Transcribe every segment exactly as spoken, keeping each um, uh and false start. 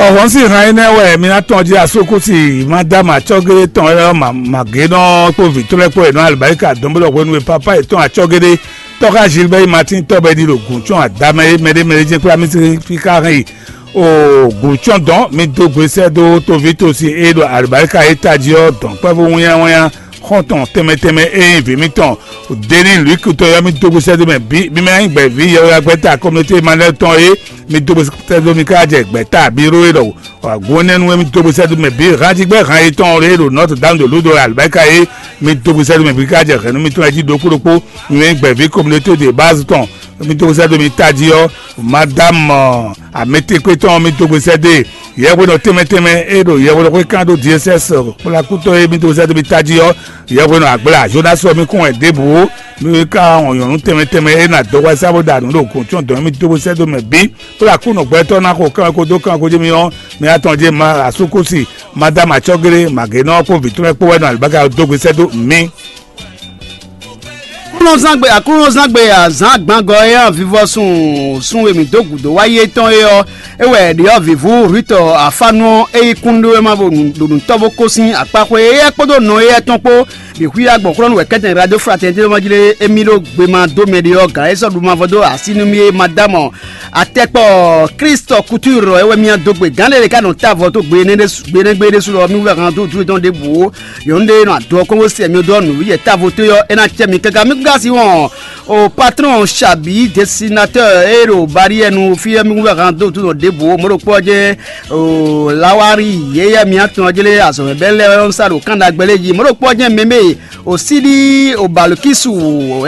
Ɔhɔn sín han énɛ́ wɛ mi ná tɔn jí asókúsi Madame Acɔ́gédé tɔn wɛ ɔ́, Magénɔ kpó vǐ tɔn lɛ́ɛ kpó è nɔ alibáríkà dɔn bó ɖɔ hwenu e papá yětɔn Acɔ́gédé tɔ́xá Gilbert Martin tɔ́ bɔ é ɖi ɖo gǔncɔ́n adamɛ é mɛɖé mɛɖé jɛ́n kplá mì sín fí xá hɛn yi o gǔncɔ́n dɔn mi dó gbe sɛ́ dó toví tosi e ɖo alibáríkà e tají ɔ́ dɔn kpɛ́vú wínnyáwínnyá xɔ́ntɔn tɛnmɛ tɛnmɛ e nyí vǐ mitɔn Deni Luiki tɔn ɔ́, mi dó gbe sɛ́ dó mɛ bǐ, mi mɛ nyí gbɛ̌ví yɛhweyagbɛ́ta communauté Emmanuel tɔn é, mi dó gbe sɛ́ dó mi ká jɛ gbɛ̌ta bíró e ɖɔ Agunɛnu e mi dó gbe sɛ́ dó mɛ bǐ, hanjigbɛ́ han yětɔn e ɖo Notre Dame de Lourdes alibáka é, mi dó gbe sɛ́ dó mɛ bǐ ká jɛ hɛ̌nnu mitɔn lɛ́ɛ jí ɖokpó ɖokpó, mi mɛ nyí gbɛ̌ví communauté de base tɔn, mi dó gbe sɛ́ dó mi tají ɔ́, Madame Ametekwe tɔn mi dó gbe sɛ́ dó e yɛhwenɔ tɛnmɛ tɛnmɛ e ɖo yɛhwenɔ xwé kán ɖó D S S kplakútɔ́ e mi dó gbe sɛ́ dó mi tají ɔ́, yɛhwenɔ agbla Jonas ɔ́ mi kún wɛ ɖěbǔ ó, mi ka wɔn nyɔ̌nu tɛnmɛ tɛnmɛ e ná dɔhwɛ sá bó ɖa nǔ ɖo gǔn tɔn dɔn mi dó gbe sɛ́ dó mɛ bǐ. Kplakúnɔ gbɛtɔ́ ná xo kán ko dó kán ko jí mi ɔ́, mi atɔn jí ma asúkúsi, Madame Acɔ́géré, Magénɔ kpó vǐ tɔn lɛ́ɛ kpó wɛ nɔ alibáka dó gbe sɛ́ dó mi. Aklúnɔzángbe Aklúnɔzángbe azǎn agbangɔ e ɔ́ vivɔsun sun e mǐ dó gǔdo wá yi étɔn é ɔ́, é wɛ è ɖe ɔ́ vǐvú Rwitɔ afánu ɔ́, é yi kúnɖéwéma ɖo nǔtɔ́ bó kó sín akpáxwé éyɛ́ kpódó nɔ éyɛ́ tɔn kpó bǐ xwíá gbɔn xwlɔ́nú wɛ kɛ́tɛn Radio Fraternité ɔ́ jí lé émí ɖó gbema dó mɛ ɖé ɔ́, gǎn e sɔ́ ɖu mavɔ dó así nú mì é ma dó amɔ. Atɛkpɔ Klístɔ Kutúr ɔ́ é wɛ mì nɔ dó gbe. Gǎn ɖé lě ká nɔ tá avɔ tó gbe énɛ́ ɖésú gbe énɛ́ gbe ɖésú lɔ mì wú vɛ́ han dó dúró tɔn ɖěbǔ ó. Yɔ̌nu ɖé nɔ adɔ kɔ́ngó sɛ mì dó ɔ́ nǔ yɛ távo tó ɔ́ é ná cɛ mì káká mì gúgá sí wɔn. O patrɔn Xabi, desinatɔ́ e ɖo bariyɛnu fí ɔ́ mì wú vɛ́ han dó dúró tɔn ɖěbǔ ó. Mɔ̌ ɖokpó ɔ́ jɛ́n o lawari yéyɛ́ mì atɔn ɔ́ jlé azɔ̌mɛbɛ́ lɛ́ɛ ɔ́ nɔ sa ɖo kán ɖagbe lɛ́ɛ jí. Mɔ̌ ɖokpó ɔ́ jɛ́n mɛmɛ o síɖí o balokisu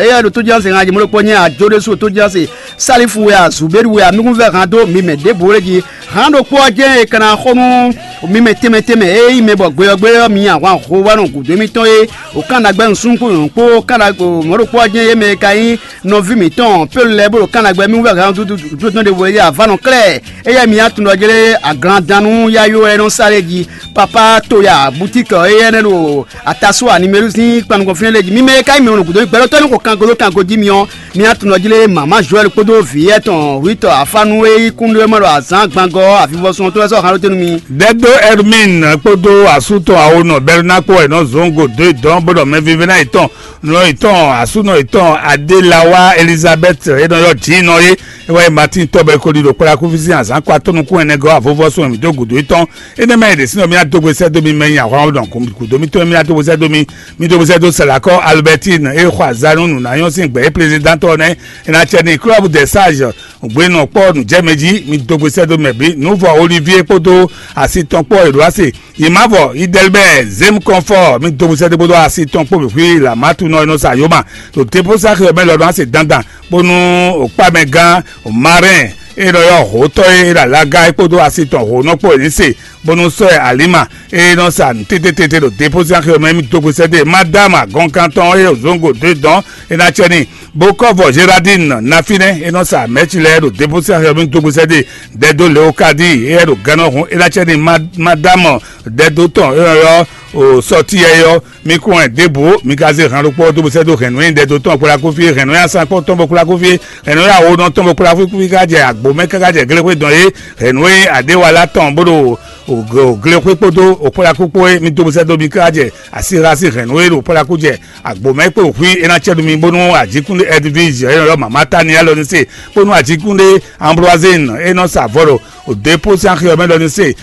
éyɛ́ ɖo tójánse han jí. Mɔ̌ ɖokpó ɔ́ jɛ́n ajo ɖésú o tójánse Salifu wɛ a, Zubéru wɛ a, mi kún vɛ́ han dó mi mɛ ɖěbǔ lé jí. Han ɖokpó ɔ́ jɛ́n è ka ná xo nú mi mɛ tɛnmɛ tɛnmɛ e nyí mɛ bɔ gbe ɔ́ gbe ɔ́ mi nyi ahwan ho wá nɔ gǔdo émítɔn é. O kan ɖagbe nǔsúnnú kpó nyɔ̌nu kpó kan ɖagbe mɔ̌ ɖokpó ɔ́ jɛ́n yě mɛ e ka nyí nɔví mǐtɔn Pɔ́lu lɛ́ɛ bó ɖo kan ɖagbe mì wú vɛ́ han dúdú dúdú ɖěvo é jí avǎ nɔ klɛ́. Éyɛ́ mi atun ɖɔ jlé aglandannú yáyó wɛ é nɔ sa lé jí. Papá Toya bútíkì ɔ́ éyɛ́ nɛ́ ɖo Atasua Nimelusín kpan nukɔn fínɛ́ lé jí. Mi mɛ e ka nyí mɛ nɔ gǔdo gbɛɖɔtɔ́ ní xo kango dó kango jí mi ɔ́, mi atun ɖɔ jlé mama Joɛl kpódó vǐ yɛ́tɔn Rwitɔ afánu e yí kúnɖéwéma ɖo azǎn gbangɔ ɔ́ avivɔsun ɔ́ tó wɛ sɔ́ han ɖó te nú mi. Dɛdó Hermine kpódó asú tɔn awonɔ Bɛrina kpó wɛ nɔ zɔn go dó dɔn bó ɖɔ mɛvívɛ́ná yětɔn nɔ yětɔn asúnɔ yětɔn Adélawa Elizabeth e nɔ ylɔ́ jǐnɔ é. É wá yi Martin tɔ́ bɔ é ko ɖi ɖo kplá kúfí sín azǎn kɔ atɔ́ nukún ɛnɛ gɔ́ avɔvɔ́ sún mì dó gǔdo yětɔn. Énɛ́ mɛ é ɖě sín ɔ́, mì ná dó gbe sɛ́ dó mi mɛ nyi ahwan ɔ́ ɖɔn gǔdo mítɔn mì ná dó gbe sɛ́ dó mi. Mì dó gbe sɛ́ dó Salakɔ Albertine e xɔ azǎn nú nǔnáyɔ́ sín gbɛ̌ é plezidantɔ nɛ́. É ná cɛ n'i Club des Sages gbenɔ kpɔ́ nǔjɛmɛ jí, mi dó gbe sɛ́ dó mɛ bǐ. Nǔvɔ Olivier kpódó asi tɔn kpɔ́ è ɖǒ ase. Yi mavɔ Idɛlbɛ Zem Kɔnfɔ mi dó gbe sɛ́ dó bó dó asi tɔn kpó bǐ xwí Lamatunɔ e nɔ sa yoma ɖo Deposa xɛ mɛ lɔ nɔ ase dandan bónú òkpámɛgán Marɛn e nɔ ylɔ́ hǒtɔ́ e ɖo alaga é kpódó asi tɔn hǒnɔ kpó è ní se bónú sɔ́ ɛ Alima e nɔ sa nǔ tététété ɖo Deposa xɛ mɛ mi dó gbe sɛ́ dó Madama gɔnkan tɔn e zɔngo dó dɔn e ná cɛ n'i. Bó kɔ́ vɔ Géraldine ná fínɛ́ é nɔ sa mɛ̌ci lɛ́ɛ ɖo Deposa xɛ mi dó gbe sɛ́ dó Dɛdo Leokadi éyɛ́ ɖo gannɔ hun é ná cɛ n'i. Madamɔ Dɛdo tɔn é nɔ ylɔ́ o sɔtiyɛ ɔ́, mi kún wɛ ɖěbǔ mi ka zé han ɖokpó ɔ́ dó bó sɛ́ dó hɛ̌nnu e Dɛdo tɔn kplá kó fí, hɛ̌nnu e asán kpɔ́ tɔn bó kplá kó fí, hɛ̌nnu e awonɔ tɔn bó kplá kó fí ká jɛ agbo mɛ káká jɛ glexwé dɔn é, hɛ̌nnu e adéwalá tɔn bó ɖo glexwé kpódó òkplá kó kpó é, mi dó bó sɛ́ dó mi ká jɛ asíxa sín hɛ̌nnu e ɖo kplá kó jɛ agbo mɛ kpó xwí é ná cɛ nú mi bónú ajíkúnɖé Edwige é nɔ ylɔ́ mama Taniɛl ɔ́ ní se, bónú ajíkúnɖé Ambroisine é nɔ sa avɔ ɖo Òdepósín axi ɔ́ mɛ ɖɔ ní se,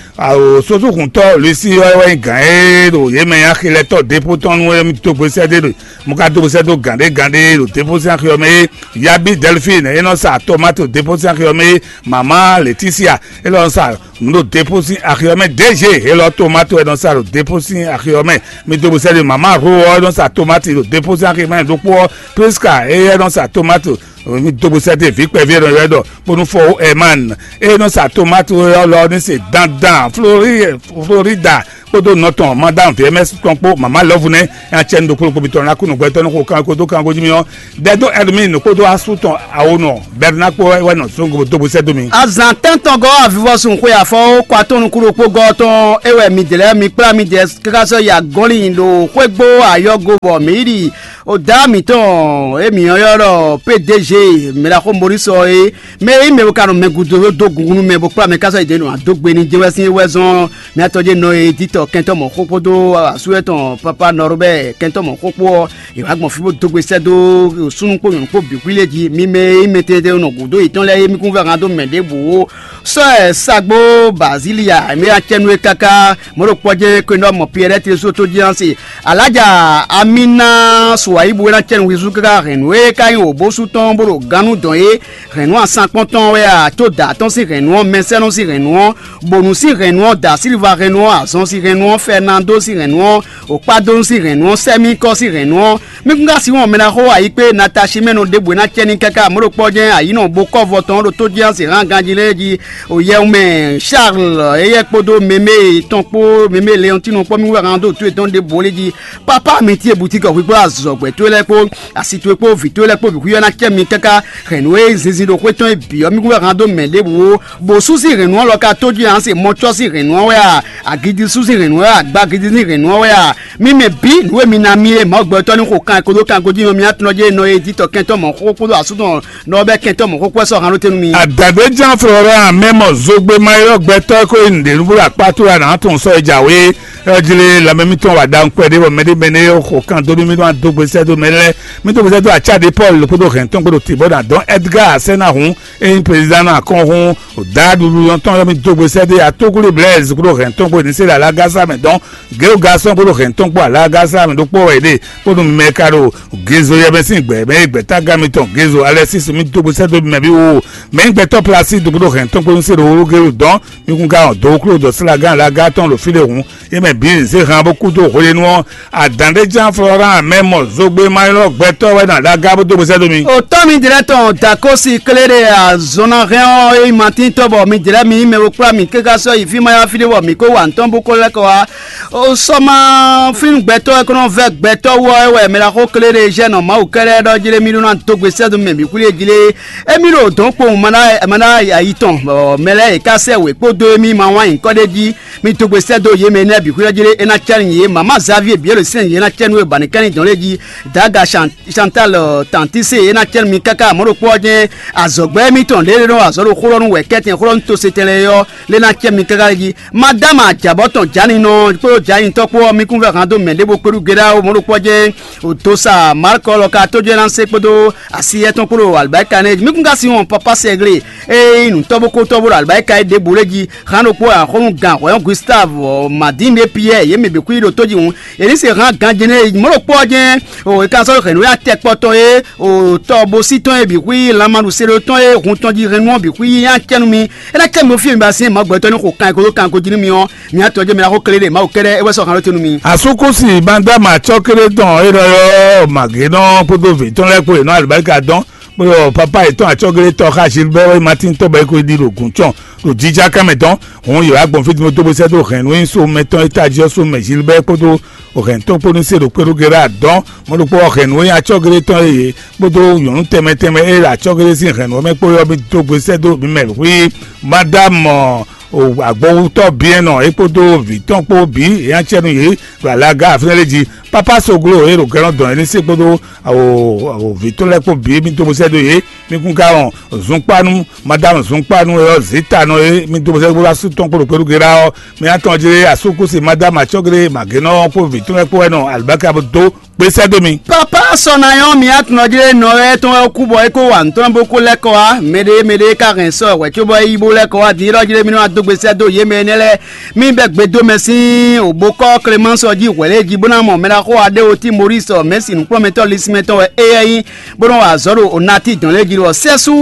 sósúhuntɔ́ Lusi ɔ́ wɛ nyí gǎn e ɖo yě mɛ nyí axilɛtɔ́ Depo tɔn nú émí dó gbe sɛ́ ɖé ɖo mɔ ka dó gbe sɛ́ dó gǎn ɖé gǎn ɖé ɖo Depo sín axi ɔ́ mɛ é. Yabi Delphine é nɔ sa tomate ɖo Depo sín axi ɔ́ mɛ é. Mama Leticia é nɔ sa nǔ ɖo Depo sín axi ɔ́ mɛ. D G é lɔ tomate é nɔ sa ɖo Depo sín axi ɔ́ mɛ. Mi dó gbe sɛ́ ɖé mama Ro ɔ́ é nɔ sa tomate ɖo Depo sín axi mɛ ɖokpó ɔ́. Prisca é é nɔ sa tomate mi dó gbe sɛ́ dó vǐ kpɛví e nɔ ylɔ́ ɛ ɖɔ bónú fɔ Herman e nɔ sa tomate ɔ́ lɔ ní se dandan Florida kpódó nɔ tɔn madame vmɛs tɔn kpó mama lɔvu nɛ acɛnu ɖokpó ɖokpó mitɔn ná kú nǔgbɛtɔ́ ní xo kan kódó kan godi mì ɔ́, dɛdó ɛdmin kpódó asú tɔn awonɔ bɛrina kpó wɛ nɔ zɔngo dó bó sɛ́ dó mi. Azǎn tɛ́ntɔn gɔ́ avivɔsun xwe afɔ kɔ atɔn nukúɖokpó gɔ́ tɔn é wɛ midɛɛ lɛ́ɛ mi kplá midɛɛ káká sɔ́ yi agɔ́nlin ɖo xwégbó ayɔ́go bɔ mǐ yi ɖi oda mǐtɔn e mǐ ylɔ́ ɖɔ P D G mɛɖaxó Morisɔ é, mɛ e nyí mɛ bo ka nɔ mɛ gúdo dó gungun nú mɛ bó kplá mɛ káká sɔ́ yi dě nɔ adó gbe ní jɛ́n wɛ sín é wɛ zɔ́n mǐtɔn jɛ nɔ e dítɔ kɛntɔ́ mɔ̌ xó kpódó asú etɔn papa Nɔrubɛ́ kɛntɔ́ mɔ̌ xó kpó ɔ́, è wǎ gbɔn fí bó dó gbe sɛ́ dó súnnu kpó nyɔ̌nu kpó bǐ xwí lé jí. Mi mɛ e nyí mɛtɛnɖɛɖɛ nɔ gǔdo yětɔn lɛ́ɛ é, mi kún vɛ́ hán dó mɛ ɖěbǔ ó. Sɔ́ ɛ sagbó Bazilia mɛ acɛ́nú é káká mɔ̌ ɖo kpɔ́ jɛ́n kwénɔ́ mɔ Piyɛ́rɛ́ Telesóto jí ɔ́ se. Alájà Amina Suwayibu é ná cɛ́nú húzú káká hɛ̌nnu e ka nyí wǒbósú tɔn bó ɖo gannú dɔn é. Hɛ̌nnu asankpɔ́n tɔn wɛ a, tó dǎ tɔn sín hɛ̌nnu ɔ́, mɛsɛ́nɔ sín hɛ̌nnu ɔ́, bonu sín hɛ̌nnu ɔ́, dǎ síliva hɛ̌nnu ɔ́, azɔn sín hɛ̌nnu ɔ́, fɛnando sín hɛ̌nnu ɔ́, okpádonu sín hɛ̌nnu ɔ́, sɛ́míkɔ sín hɛ̌nnu ɔ́, mí kún ka sin wɔn mɛ ná xó ayǐ kpé natasimɛnu ɖěbǔ e ná cɛ ní káká mɔ̌ ɖo kpɔ́ jɛ́n ayǐ nɔ bo kɔ́ vɔ tɔn ɖo tó jɛ́n se hán ganjí lɛ́ɛ jí. Oyɛwun mɛ Charles éyɛ́ kpódó mɛmɛ tɔn kpó mɛmɛ Leɔntinu kpó mí wɛ hán dó tó yětɔn ɖěbǔ lé jí. Papa mi tíe butíkɔ hwíkpó azɔ̌gbɛ́ towe lɛ́ɛ kpó asi towe kpó vǐ towe lɛ́ɛ kpó bǐ xwíyɔ́ ná cɛ mi káká hɛ̌nnu e zinzin ɖo xwé tɔn e bǐ ɔ́, mí kún wɛ hán dó mɛ ɖěbǔ ó. Bǒsú sín hɛ̌nnu ɔ́ lɔ ka tójú ǎ se mɔcɔ́ sín hɛ̌nnu ɔ́ wɛ a? Agidisú sín hɛ̌nnu ɔ́ wɛ a? Agbagidi sín hɛ̌nnu ɔ́ wɛ a? Mi mɛ bǐ nǔ e mi ná mì é, Mawu gbɛtɔ́ ní xo kan e ko dó kan gojínɔ mi atúnɔ jɛ nɔ e dítɔ kɛntɔ́ mɔ̌ xó kpódó asúnɔ nɔ ɔ́ bɛ́ kɛntɔ́ mɔ̌ xó kpó wɛ sɔ́ hán ɖó tɛ́ nú mi. Adǎdéján Florent mɛ mɔ zogbe mayɔ́ gbɛtɔ́ e ko yi nǔɖé nú bó ɖo akpá tó wɛ a nǎ tunwun sɔ́ e jǎwe ɔ́ jí lé lanmɛ mitɔn wa ɖawun kpɛɖé bɔ mɛɖé mɛ nɛ́ xo kan dó nú mì nɔ dó gbe sɛ́ dó mɛ lɛ́ɛ. Mì dó gbe sɛ́ dó acá ɖé Pɔ́lu kpódó hɛn tɔn kpódó Tibɔ́ ná dɔn Ɛdgáa sɛ́ ná hun é nyí prezidán ná kɔn hun. Dǎ ɖuɖu tɔn ɔ́ mì dó gbe sɛ́ dó ya tógúlé Blɛ́ɛz kpódó hɛn tɔn kpó ní se ɖo alágásá mɛ dɔn. Gěwúgasɔ́ kpódó hɛn tɔn kpó alágásá mɛ ɖokpó wɛ yě ɖe kpódó mɛ ka ɖo Gezo yɛ mɛ sín gbɛ mɛ e gbɛ̌tágán mitɔn Gezo Alɛsísi mì dó gbe sɛ́ dó mɛ bí wo. Mɛ nyí gbɛtɔ́ Plasídu kpódó hɛn tɔn kpó ní se ɖo wógélu dɔn. Mi kún ka wɔn dǒ wúklú dɔ sílagán alága tɔn ɖo fí ɖé hǔn, é mɛ bǐ zé han bó kú dó hweɖénu ɔ́. Adǎn ɖé ján Florán mɛ mɔ zogbe ma ylɔ́ gbɛtɔ́ wɛ nɔ alága bó dó bó sɛ́ dó mi. Òtɔ́ mi jlɛ́ tɔn Dakósi Kléɖe azɔn ná hɛn ɔ́, é nyí Matín tɔ́ bɔ mi jlɛ́ mi mɛ bo kplá mi káká sɔ́ yi fí ma yá fí ɖé bɔ mǐ kó wa nǔ tɔn bó kó lɛ́ kɔ wá. O sɔ́ ma fínú gbɛtɔ́ e kó nɔ vɛ́ gbɛtɔ́ wú ɔ́, é wɛ mɛ ɖaxó Kléɖe jɛ nɔ Mawu kɛ́ɖɛ́ ɖɔ jlé mì ɖó ná dó gbe sɛ́ dó mɛ mǐ xwlí e jlé. Émí ɖo dɔ̌nkpowun ma ná ma ná ayi tɔn, bɔ mɛ lɛ́ɛ e ka sɛ́ wě kpódó émí ma wán nyǐkɔ ɖé jí. Mi dó gbe sɛ́ dó yě mɛ énɛ́ bǐ xwíɖɔ jí ɖé é ná cɛ́ nyi yě. Mama Xavier bǐ e ɖo sɛ́n yě ná cɛ́ nú é ba ní kɛ́n nyi dɔn lé jí. Daga Chan- Chantal Tantise é ná cɛ́ nú mi káká mɔ̌ ɖokpó ɔ́ jɛ́n. Azɔ̌gbɛ́ émítɔn lě e nɔ wa azɔ̌ ɖo xó ɖɔ nú wɛ̌kɛ́tɛn xó ɖɔ nú to se tɛnlɛ é ɔ́, lé ná cɛ́ mi káká lé jí. Madama Jabɔtɔn Janinɔ kpódó Janitɔ́ kpó ɔ́, mi kún vɛ́ han dó mɛ ɖěvo kpéɖu géɖá ó mɔ̌ ɖokpó ɔ́ jɛ́n. Otosa Mark lɔ ka tójó ná se kpódó asi yɛtɔn kpódó alibáríka nɛ́. Mi kún ka sin wɔn papa sɛgli eye nyí nǔtɔ́ bó kótɔ́ bó ɖo alibáríka é ɖěbǔ lé jí. Han ɖokpó axɔ́nú gan hwɛ̌yɔ́n Gustav, Madín ɖé Piyɛ́ɛ, yě mɛ bǐ kú yi ɖo tó jí hǔn. È nǐ se hán ganjí nɛ́ mɔ̌ ɖokpó ɔ́ jɛ́n. O è ka sɔ́ hɛ̌nnu ya tɛkpɔ́ tɔn e o tɔ bo sí tɔn e bǐ xwí lanmaɖu seɖo tɔn e hun tɔn jí hɛ̌nnu ɔ́ bǐ xwí yá cɛ́nú mi. É ná cɛ́ mi ɖó fí e mi ba syɛ́n mɔ̌ gbɛtɔ́ ní xo kan e ko dó kan e ko jí nú mi ɔ́. Mi atɔn jɛ mi ná xó kele ɖe Mawu kɛ́ɖɛ́ é wɛ sɔ́ han ɖó te nú mi. Asúkúsi Bandama acɔ́kéré tɔn e nɔ ylɔ́ Màgénɔ kpódó vǐ tɔn lɛ́ɛ kpó yě nɔ alibáríka dɔn, bó yɔ papa yětɔn acɔ́kéré tɔn xá Gilbert Martin tɔ́ bɔ é ko ɖi ɖo gǔncɔn ɖo jija kán mɛ tɔn. Hǔn yě wá gbɔn fí din bó dó bó sɛ́ dó hɛ̌nnu e nyí so mɛtɔn e tají ɔ́ so mɛ Gilbert kpódó hɛ̌nnu tɔn kpó ní se ɖo kpéɖó Gera dɔn. Mɔ̌ ɖokpó ɔ́ hɛ̌nnu e nyí acɔ́kéré tɔn e yě kpódó nyɔ̌nu tɛnmɛ tɛnmɛ e ɖo acɔ́kéré sín hɛ̌nnu ɔ́ mɛ kpó ɔ́ bǐ dó gbe sɛ́ dó bǐ mɛ hwí. Madame agbɔwutɔ́ Biɛnɔ é kpódó vǐ tɔn kpó bǐ yě ná cɛ nú yě ɖo alaga fínɛ́ lé jí. Pápá Soglo e ɖo gɛ́nɔ dɔn é ní se kpódó vǐ tɔn lɛ́ɛ kpó bǐ mì dó bó sɛ́ dó yě. Mi kún ka wɔn zunkpánu, madame zunkpánu e ɔ́ zǐtanɔ e mì dó bó sɛ́ dó bó asú tɔn kpó ɖo kpéɖu Gera ɔ́. Mi atɔn jlé asúkúsi madame acɔ́gblé màgénɔ ɔ́ kpó vǐ tɔn lɛ́ɛ kpó wɛ nɔ alibáka bó dó kpé sɛ́ dó mi. Papa sɔnayɔn mi atunɔjlé nɔ wɛ tɔn wɛ kú bɔ é kó wa nǔtɔn bó kó lɛ́ kɔ wá. Mɛɖé mɛɖé ka hɛn sɔ hwɛ̌ cóbɔ é yí bó lɛ́ kɔ wá din é ɖɔ jlé mi nɔ wá dó gbe sɛ́ dó yě mɛ énɛ́ lɛ́ɛ. Mi bɛ́ gbe dó mɛ sín òbókɔ́ Clémence ɔ́ jí hwɛ̌ lɛ́ɛ jí bó ná mɔ mɛ ɖaxó wa ɖé o tí Maurice mɛ̌si nǔkplɔ́nmɛtɔ́ lisínmɛtɔn wɛ éyɛ́ nyí, bó nɔ́ wa azɔ̌ ɖo onati dɔn lɛ́ɛ jí ɖɔ sɛ́sú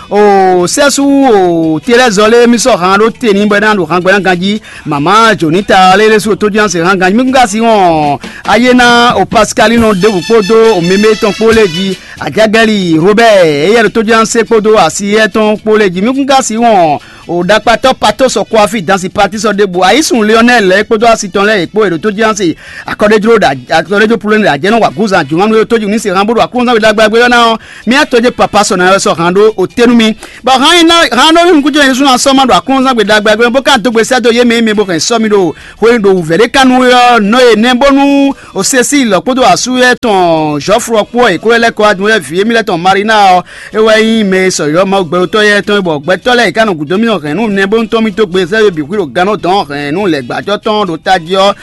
o sɛ́sú o Telɛ́zɔ lé mi sɔ́ han ɖó te ní bɔ é ná ɖo han gbɛ ná ganjí. Mama Jonita lé lé sú tójúná se hán ganjí mi kún ka sí wɔn ayé ná o Pascaline ɖěbǔ kpódó o mɛmɛ tɔn kpó lé jí. Ajagɛli Robert éyɛ́ ɖo tójúná se kpódó asi étɔn kpó lé jí mi kún ka sí wɔn O ɖakpatɔ́ Pato sɔ kɔ́ afí dansi pati sɔ ɖěbǔ ayísun Lionel lɛ́ɛ kpódó asi tɔn lɛ́ɛ yě kpó è ɖo tó jí ansi akɔɖéjló ɖo akɔɖéjló plúlɛ́ ɖo ajɛ́nɔ wa gúzan jǔmanu e tójú ní se hán bó ɖo aklúnzán we ɖagbe ɔ́ ná ɔ́, mía tɔ́ jɛ papa sɔ ná wɛ sɔ hán ɖó o tɛ́ nú mì. Bɔ hán yi ná hán ɖó nukúnjɔ yɛn ɖésú ná sɔ́ ma ɖo aklúnzán we ɖagbe ɔ́ bó ká dó gbe sɛ́ dó yé mɛ e mɛ bó hɛn sɔ́ mì ɖo hwenu ɖo wǔvɛ́ ɖé ká nú é ɔ́ nɔ e nɛ́ bónú o Cecile kpódó asú yɛ tɔn Jɔflɔ kpó ɔ́ è kó lɛ́ kɔ wá dun yɛ vǐ émí lɛ́ɛ tɔn Marina ɔ́, é wɛ nyí mɛ e sɔyɔ̌ Mawu gbɛɖotɔ́ yɛ́ tɔn é, bɔ gbɛtɔ́ lɛ́ɛ e ká nɔ gǔdo mì nɔ hɛ̌nnu nɛbónútɔ́ mì dó gbe sɛ́ yó bǐ xwí ɖo gannɔ dɔn hɛ̌nnu lɛ̌gbájɔ tɔn ɖo tají ɔ́,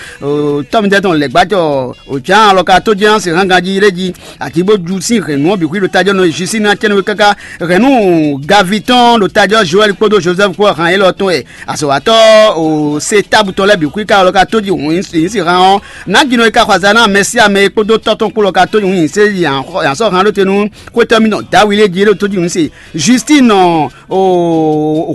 tɔ́ mitɔ́ tɔn lɛ̌gbájɔ Jǎan alɔ ka tó jɛ́n ɔ́ se hángan jí lé jí, ají bó ju sín hɛ̌nnu ɔ́ bǐ xwí ɖo tají ɔ́ nɔ yi Jisina cɛ́nwe káká hɛ̌nnu Gavi tɔn ɖo tají ɔ́ Joɛ́li kpódó Jozɛ́fu kpó hán élɔ́ tɔn wɛ azɔ̌watɔ́ o se tábu tɔn lɛ́ɛ bǐ xwí ká alɔ ka tó jí hǔn yǐ si hán ɔ́, nǎjínɔ e ka xɔ azǎn ná mɛ sín amɛ e kpódó tɔ́ tɔn kpó lɔ ka tó nyǐ se yǎnsɔ́ hán ɖó te nú xwétɔ́ mitɔn Dawili e jí é ɖo tó jí nǔ se. Justin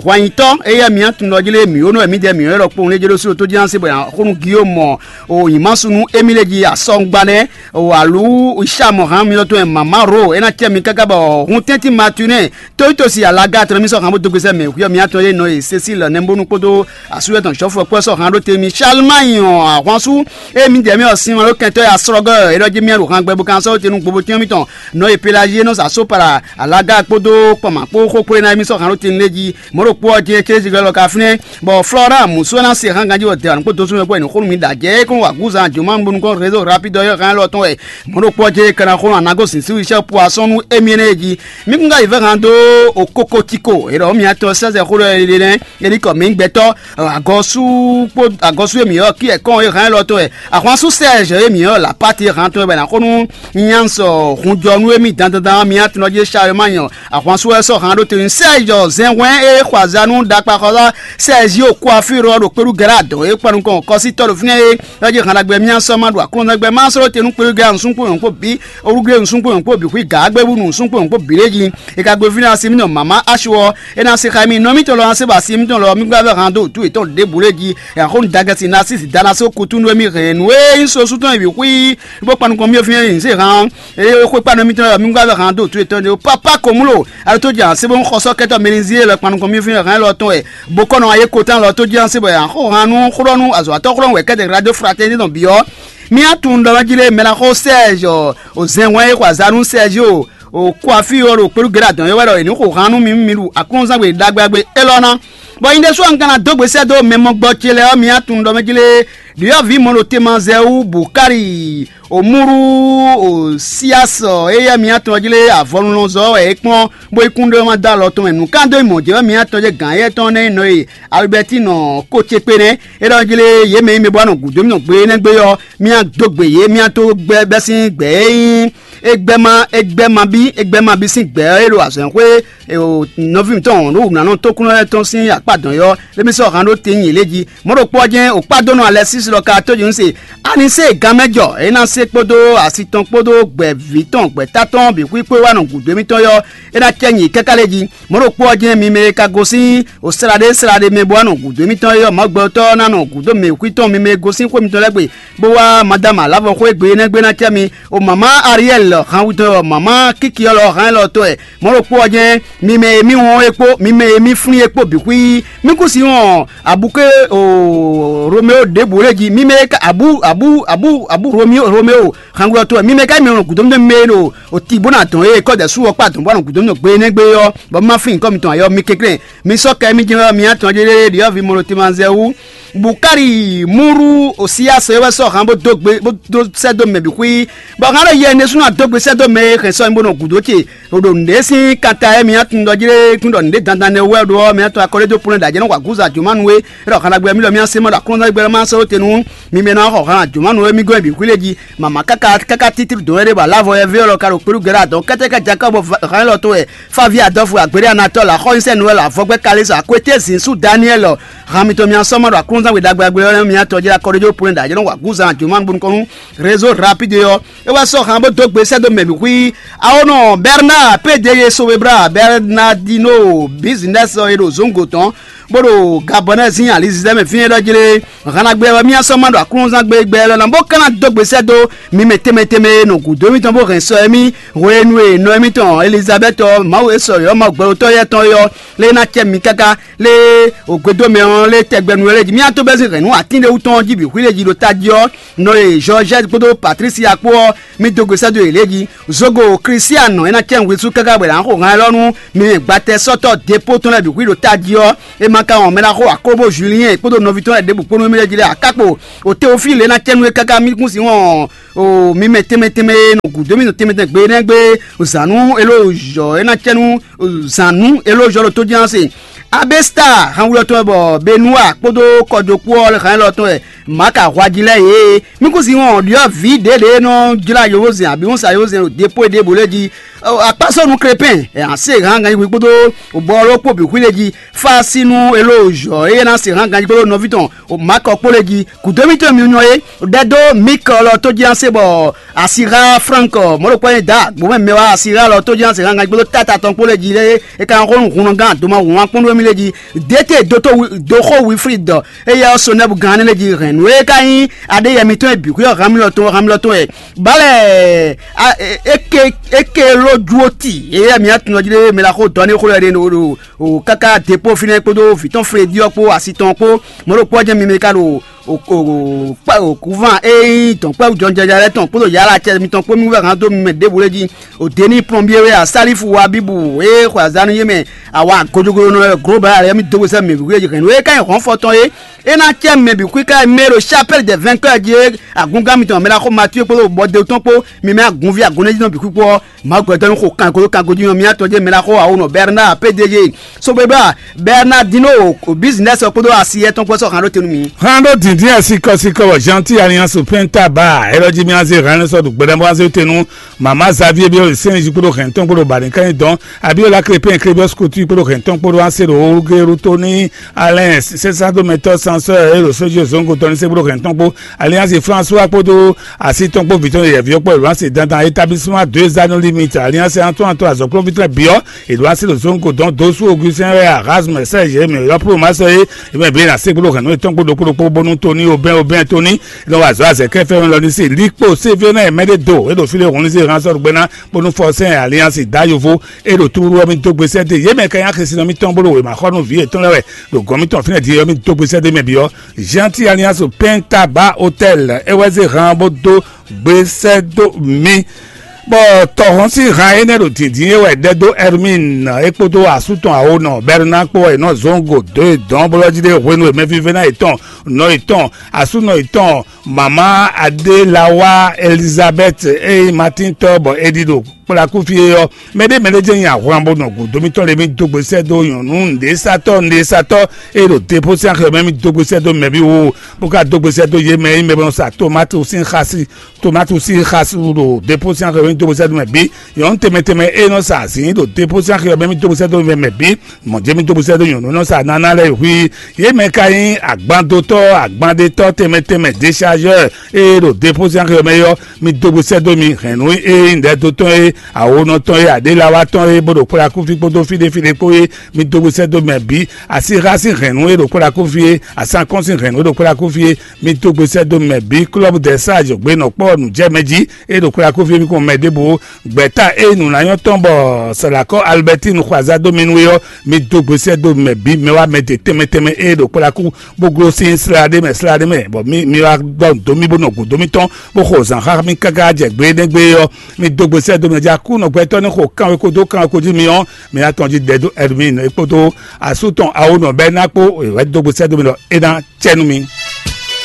hwanyitɔ́ éyɛ́ mǐ tunɖɔ jí lé mǐ ó nɔ wɛ mǐdɛɛ mǐ ɔ́ ɖɔ kpowun lé jé ɖó sí ɖo tó jí ná se bɔ xónú Guillaume o nyǐmásu nú émí lé jí asɔ́ngbá nɛ́ o alǔ Isham hán mitɔn tɔn e mama ro é ná cɛ mi káká bɔ hun tɛ́ntin Matunɛ Tóyítɔ́ si alaga tɔn mì sɔ́ hǎn bó dó gbèsè mɛ hwíyɔ mì atɔn yé nɔ e Cécile nɛ́nbónú kpódó asúyɛ tɔn Jɔ́fu ɔ́ kpó sɔ́ hǎn ɖó te mì. Charlemagne ahwansu e mì jɛ mì ɔ sin ma ɖó kɛntɔ́ ya srɔ́gɔ́ ɛ ɖɔ jí mì ɖo hǎn gbɛ bó kan sɔ́ te nú gbobotín mì tɔn nɔ e Pelagie nɔ sa só para alaga kpódó kpɔnmà kpó xó kplé ná mì sɔ́ hǎn ɖó te lé jí. Mɔ̌ ɖokpó ɔ́ jɛ́n cézigɔ́ lɔ ka fínɛ́ bɔ Florent Musu ná se hǎn ganjí wɔ dɛ̌ kpó dó súnmɛ kpó ɛnì xónú mi ɖo ajɛ̌ é kún wa gǔzan jǒmanú kpó Réseau Rapide ɔ́ hǎn élɔ́ tɔn wɛ. Mɔ̌ ɖokpó ɔ́ jɛ́n é ka ná xó nɔ anágó zǐn sí wíṣẹ́ pu asɔ́n nú émí énɛ́ jí. Mí kún ka yi vɛ́ han dó okoko tiko, è ɖɔ mǐ atɔn sɛ́sɛ xó ɖɔ è ɖe nɛ́, è ní kɔ mǐ gbɛtɔ́ agɔsú kpó agɔsú e mǐ ɔ́ kí ɛkɔn e hɛn élɔ́ tɔn wɛ. Ahwansú Sɛ́ɛzɔ e mǐ ɔ́ lǎpáti e hǎn tɔn wɛ bɔ è nǎ xó nú nyansɔ hunjɔnú e mí dandandan mǐ atɔn jí Salományɔ. Ahwansú wɛ sɔ́ hǎn ɖó te nú Sɛ́ɛzɔ zɛnhwɛ́n e xɔ azǎn nú ɖakpaxɔ́sá Sɛ́ɛzio Kuafíro ɔ́ ɖo kpéɖú Gɛlá dɔ̌n e kpan nukɔn kɔsítɔ́ ɖo fínɛ́ é. Ɔ́ jí hannagbe mì asɔ́ ma ɖo aklúnɔgbɛ ma sɔ́ te nú kpéɖú Gɛlá nǔsúnkún nyɔ̌nkpó bǐ, orúglé nǔsúnkún nyɔ̌nkpó bǐ xwí gǎ gbɛ́bú nǔsúnkún nyɔ̌nkpó bǐ lé jí. È ka gbe fínɛ́ asi mì nɔ mǎmá Asu ɔ́, é ná se xá mì nɔ mítɔn lɔ ná se ba asi mítɔn lɔ mì gbá vɛ́ han dó wǔtu yětɔn ɖěbǔ lé jí. Ɛ xó nu Dagasí ná sísi da ná só kutúnú e mì hɛn nǔ e nyí sosú tɔn e bǐ xwí bó kpan nukɔn mì fínɛ́ nyi zé han ɔ́. Eye xwé kpa nɔ mítɔn lɔ mì gbá vɛ́ han dó wǔtu yětɔn ɖé. Pápá ko mú lo, a ɖo tó jɛ asi bó xɔ sɔ́ kɛtɔ́ mɛnizí e lɔ kpan nukɔn mì fínɛ́ hɛn lɔ tɔn wɛ. Bó kɔ nɔ ayé kotán lɔ tó jí ná se bɔ yě ná xo han nú xlɔ́nú azɔ̌watɔ́ xlɔ́nú wɛ kɛ́tɛ radio fraternité tɔn bǐ ɔ́. Mì atun ɖɔ jí lé mɛ ná xó Sɛ́ɛzɔ o zɛnhwɛ́n e xɔ azǎn nú Sɛ́ɛzio o Kuafío ɖo kpéɖú Gɛ́dá dɔn é wɛ ɖɔ è nǐ xo han nú mi nú mi ɖu aklúnzán gbe ɖagbe ɖagbe élɔ́ ná. Bɔ nyi ɖésú ɔ́ un ka ná dó gbe sɛ́ dó mɛ mɔgbɔ ce lɛ́ɛ ɔ́, mì atun ɖɔ mɛ jí lé ɖyɔ̌vǐ mɔ ɖo temazɛ wú Bukali Omúɖú Osiasɔ éyɛ́ mǐ atɔn jí lé avɔnulɔzɔ́ wɛ é kplɔ́n, bó yi kún ɖó ma dó alɔ tɔn mɛ. Nǔ ka dó yi mɔ̌ jɛ wɛ mǐ atɔn jɛ gǎn éyɛ́ tɔn nɛ́ nɔ e Alibɛ́tinɔ kó ce kpé nɛ́. É ɖɔ jí lé yě mɛ e mɛ bó wá nɔ gǔdo mì nɔ gbe énɛ́ gbe ɔ́, mì adó gbe yě, mì adó gbɛ bɛ́ sín gbɛ e nyí égbɛ́ ma égbɛ́ ma bí égbɛ́ ma bí sín gbɛ ɔ́ é ɖo azɔ̌xwé nɔví mǐtɔn ɖo wǔnánɔ tókúnɔ lɛ́ɛ tɔn sín akpá dɔn ɔ́, émí sɔ́ han ɖó te nyi lě jí. Mɔ̌ ɖokpó ɔ́ jɛ́n wǒkpádónɔ Alɛsísi lɔ ka tó jí nú se, a ní se gan mɛ jɔ, é ná se kpódó asi tɔn kpódó gbɛ̌ví tɔn gbɛ̌ta tɔn bǐ xwíxwé wá nɔ gǔdo émítɔn yɔ́, é ná cɛ nyi káká lé jí. Mɔ̌ ɖokpó ɔ́ jɛ́n mi mɛ e ka gosín o sláɖé sláɖé mɛ bó wá nɔ gǔdo émítɔn yɔ́, Mawu gbɛtɔ́ ná nɔ gǔdo mɛ xwí tɔn mi mɛ e gosín xwé mitɔn lɛ́ɛ gbe, bó wá Madama Lavɔ xwé gbe énɛ́ gbe ná cɛ mi. O mama Ariɛl hanwutɔn ɔ́, mama Kikiɔlɔ hán élɔ́ tɔn ɛ. Mɔ̌ ɖokpó ɔ́ jɛ́n mi mɛ e mì wɔn é kpó mi mɛ e mì flín é kpó bǐ xwí. Mì kún si wɔn abǔké o Romeo ɖěbǔ lé jí. Mi mɛ e ka abú abú abú abú Romeo Romeo hanwutɔn ɛ. Mi mɛ e ka mi wɔn gǔdo mi mɛ e ɖo o ti bó ná dɔn é kɔ́ dɛ sú ɔ́ kpá dɔn bó ná gǔdo mi gbe énɛ́ gbe ɔ́, bɔ ma flín nyǐkɔ mitɔn ayɔ mi kɛnklɛ́n. Mi sɔ́ kɛ mi jɛ́n wɛ mi atɔn jɛ́n ɖe ɖiɔ́ vi mɔ ɖo timanzɛ wú. Bukali múɖú Osiyasɔ é wɛ sɔ́ han bó dó gbe bó dó sɛ́ dó mɛ bǐ xwí, bɔ hán ɖɔ yɛ ɖésúnɔ dó gbe sɛ́ dó mɛ e hɛn sɔ́ nyi bó nɔ gǔdo ce. O ɖo nǔɖé sín kanta e mǐ atun ɖɔ jí lé kún ɖɔ nǔɖé dandan nɛ wɛ ɖó ɔ́, mǐ atɔn akɔlé dó plɔ́n ɖo ajɛ̌ nɔ wa gǔza jǒmanu é. É ɖɔ hana gbɛ mì lɔ mì así mɔ ɖo aklúnɔzán gbɛ lɔ ma sɔ́ dó te nú mi mɛ nɔ xɔ hana jǒmanu é mì gɔ́n bǐ xwí lé jí. Mama káká káká títí dǒ wɛ ɖé bɔ alávo yɛ vé ɔ́ lɔ ka ɖo kpéɖu gɛ́ ɖo adɔn kɛ́tɛ́ ká Jakob hán élɔ́ tó wɛ. Favi adɔfu agbéɖé anatɔ la xɔ nyisɛn nu wɛ la vɔgbɛ kalisa kwete zin su Daniel. Han mitɔn mi asɔmɔ ɖo aklúnzán we ɖagbe agbe ɔ́ mi atɔ jɛ akɔ ɖe jó plen ɖa jɛ nɔ wa gúzan juma bun kɔnu réseau rapide ɔ́. E wá sɔ han bó dó gbe sɛ́ dó mɛ bǐ xwí. Awonɔ Bernard P D G Sobebra Bernardino Business ɔ́ e ɖo zǒngo tɔn, bó ɖo Gabɔnɛ́ sín alizizɛ mɛ fínɛ́ ɖɔ jlé. Hannagbe wɛ mì sɔ́ ma ɖo aklúnɔzán gbe gbɛ lɔ ná bó ka ná dó gbe sɛ́ dó mi mɛ tɛnmɛ tɛnmɛ e nɔ gǔdo émítɔn bó hɛn sɔ émí hwenu e nɔ émítɔn Elizabɛ́ti ɔ́, Mawu e sɔ yɔ̌ Mawu gbɛɖotɔ́ yɛ́ tɔn é ɔ́, lé ná cɛ mi káká lé ògbédómɛ ɔ́ lé tɛgbɛnu lɛ́ɛ jí. Mì ató bɛ́ sín hɛ̌nnu atín ɖé wú tɔn jí bǐ xwí lé jí ɖo tají ɔ́, nɔ e Jɔɔzɛ́ti kpódó Patlísi kpó ɔ́, mì dó gbe sɛ́ dó yě lɛ́ɛ jí. Zogo Klísianɔ é ná cɛ nǔ hwesú káká bɔ è nǎ xo han élɔ́ nú mi mɛ gbatɛsɔ́tɔ́ Depóo tɔn lɛ́ɛ bǐ xwí ɖo tají ɔ́, é ma ka wɔn mɛ ná xo Akóbo Juliyɛ́n kpódó nɔví tɔn lɛ́ɛ ɖěbǔ kpó nú émí lɛ́ɛ jí lɛ́ɛ akákpo. O Teofíli é ná cɛ nú é káká mì kún sin wɔn o mi mɛ tɛnmɛ tɛnmɛ e nɔ gǔdo mì nɔ tɛnmɛ tɛnmɛ gbe énɛ́ gbe zǎn nú éló zɔ̌ é ná cɛ nú zǎn nú éló zɔ́ ɖo tó jí ɔ́ se. Abesta hanwlɔ tɔn wɛ bɔ Benua kpódó kɔjokpó ɔ́ lɛ́ hɛn élɔ́ tɔn wɛ Maka hwají lɛ́ɛ yě. Mí kún sin wɔn ɖyɔ̌ vǐ ɖěɖě e nɔ jlá yovózɛn abǐ wɔn sa yovózɛn ɖo depo e ɖěbǔ lɛ́ɛ jí. Akpásɔ́ nú Krepɛn ɛ a se hán ganjí kpódó bɔló kpó bǐ xwí lɛ́ɛ jí. Fásínú éló zɔ̌ e ná se hán ganjí kpódó nɔví tɔn Makɔ kpó lɛ́ɛ jí. Gǔdo mítɔn mi nyɔ é ɖɛdó Mikɔ lɔ tó jí ɔ́ se bɔ Asira Frank mɔ̌ ɖokpó e da gbǒmɛ mɛ wá Asira lɔ tó jí ɔ́ se hán ganjí kpódó táta tɔn kpó lɛ́ɛ jí lɛ́ɛ é ka hɔn húnnɔgán doma wǎn kpɔ́n ɖó mì lɛ́ɛ jí. Dete dótó doxó Wilfrid éyɛ́ ɔ́ Sonɛ́bu gán lɛ́ɛ jí hɛn nǔ e ka nyí aɖéyɛ mitɔn e bǐ xwé ɔ́ han mì lɔ tɔn han mì lɔ tɔn wɛ. Bálɛ éke éke ló juwó ti éyɛ́ mǐ atún ɔ́ jí ɖé mɛ la xó dɔ ní xó lɛ́ɛ ɖé ɖo o káká depo fínɛ́ kpódó vǐ tɔn Fledyɔ kpó asi tɔn kpó mɔ̌ ɖokpó ɔ́ jɛ́n mi mɛ ka ɖo kúvan e nyí dɔ̌nkpɛ́vú jɔnjɔja lɛ́ɛ tɔn kpódó yǎlacɛ mitɔn kpó mì wɛ hán dó mi mɛ ɖěbǔ lɛ́ɛ jí. Òdení plɔnbié wɛ asálífu wa bíbù e xwe azǎn nú yé mɛ awa gojogoyo nɔ global alɛ mi dó sɛ mɛ wíwé hɛn nú e ka nyí hɔn fɔtɔn é. É ná cɛ mɛ bǐ xwí ká mɛ ɖo chapelle des vainqueurs jí é. Agungán mitɔn mɛ ná xó Matíwe kpódó bɔdé tɔn kpó mi mɛ agunví agunɛ́jínɔ bǐ xwí kpó ɔ́, Mawu gbɛtɔ́ ní xo kan kpódó kan gojí nɔ mì atɔn jɛ́n mɛ ná xó awonɔ Bernard P D G Sobebla Bernardino business ɔ́ kpódó asiyɛ tɔn kpó sɔ́ han ɖó te nú mi. Han ɖó dǐndín ɛ sikɔsikɔ bɔ Gentil Alliance Penta ba élɔ́ jí mì azé han sɔ́ ɖo gbɛɖɛmɔ azé te nú mama Xavier bí sɛn jí kpódó hɛn tɔn kpódó ba ní ká nyí dɔn abí ó lá klépɛn klébí ɔ́ skútú kpódó hɛn tɔn kpódó ansé ɖo Olugéru tó ní Alɛn sɛ́sádómɛtɔ́ sansɔ́ é ɖo sójú zɔ́ngotɔ́ ní sé kpódó hɛn tɔn kpó Alliance François kpódó asi tɔn kpó vǐ tɔn yɛ̌yɛ́ví ɔ́ kpó Elwase dandan établissement deux anneaux limite Alliance Antoine Antoine azɔ̌kplɔ́nví tɔn bǐ ɔ́ Elwase ɖo zɔ́ngo dɔn dó sú Augustin wɛ Erasme Serge mɛ yɔ́ Plomasɔ é é mɛ bǐ ná sé kpódó hɛn nú yětɔn kpódó kpódó kpó bónú Tony Obɛn Obɛn Tony nɔ wa azɔ̌ azɛ̌kɛ́ fɛ́nú lɔ ní se líkpo sévénɛ́ mɛɖé do é ɖo fí ɖé hɔn ní se hán sɔ́ ɖo gbɛ́ ná bónú Fɔsɛ́n Alliance dá yovo é ɖo túrúɖú ɔ́ mì dó gbe sɛ́ dó yě mɛ ka nyí axisínɔ mítɔn bó ɖo wěma xɔ nú vǐ yětɔn lɛ́ɛ wɛ ɖo gɔ̌n mítɔn fínɛ́ din é ɔ́ mì dó gbe sɛ́ dó mɛ bǐ ɔ́ Gentil Alliance Penta ba Hotel é wɛ zé han bó dó gbe sɛ́ dó mì. Bɔ tɔhɔn sín han énɛ́ ɖo dǐndín é wɛ ɖɛ dó Hermine é kpódó asú tɔn awonɔ Bernard kpó wɛ è nɔ zɔ́n go dó e dɔn bó lɔ́ jí ɖe hwenu e mɛvívɛ́ná yětɔn nɔ yětɔn asúnɔ yětɔn mama Adélawa Elizabeth e nyí Martin tɔ́ bɔ è ɖi ɖo kplakúfí é ɔ́, mɛɖé mɛɖé jɛ́n nyi ahwan bó nɔ gǔdo mítɔn lě mì dó gbe sɛ́ dó nyɔ̌nu nǔɖésatɔ́ nǔɖésatɔ́ e ɖo depo sín axi ɔ́ mɛ mì dó gbe sɛ́ dó mɛ̌ bǐ wo, bó ka dó gbe sɛ́ dó yě mɛ e nyí mɛ bɔ nɔ sa tomati sín xasi tomati sín xasi ɖo depo sín axi ɔ́ mɛ mì dó gbe sɛ́ dó mɛ bǐ. Nyɔ̌nu tɛnmɛ tɛnmɛ e nɔ sa azǐn ɖo depo sín axi ɔ́ mɛ mì dó gbe sɛ́ dó mɛ bǐ. Mɔ̌ jɛ́n mì dó gbe sɛ́ dó nyɔ̌nu e nɔ sa nana lɛ́ɛ xwí. Yě mɛ ka nyí agbanɖótɔ́ agbanɖétɔ́ tɛnmɛ tɛnmɛ déchargeur e ɖo depo sín axi ɔ́ mɛ é ɔ́, mi dó gbe sɛ́ dó mi hɛ̌nnu e nyí nǔɖɛdótɔn e awonɔ tɔn e aɖélawa tɔn e bó ɖo kplakúfí kpódó fí ɖé fí ɖé kpó é, mi dó gbe sɛ́ dó mɛ bǐ. Asíxá sín hɛ̌nnu e ɖo kplakúfí é, asán kɔ́n sín hɛ̌nnu e ɖo kplakúfí é, mi dó gbe sɛ́ dó mɛ bǐ. Klɔ́bu dɛ̌ sá jǒgbe nɔ kpɔ́ nǔjɛmɛ jí e ɖo kplakúfí é, mi kɔn mɛ ɖěbǔ ó. Gbɛ̌ta e nǔ ná nyɔ́ tɔn bɔ sɛ̌lakɔ́ Alibɛ́tinu xɔ azá dó mi nú é ɔ́, mi dó gbe sɛ́ dó mɛ bǐ mɛ wá mɛ ɖě tɛnmɛ tɛnmɛ e ɖo kplakú bó gló sín slá ɖé mɛ slá ɖé mɛ, bɔ mi mi wá ɖɔ nǔ dó mì bó nɔ gǔdo mítɔn bó xo zǎn xá mì káká jɛ gbe énɛ́ gbe ɔ́, mi dó gbe sɛ́ dó mɛ jí Aklúnɔ gbɛtɔ́ ní xo kanwekó dó kanwekó jí mi ɔ́, mi ná tɔn jí ɖɛ dó Ɛrmín é kpódó asú tɔn Awonɔ bɔ é ná kpó wɛ dó gbe sɛ́ dó mi ɖɔ é ná cɛ nú mi.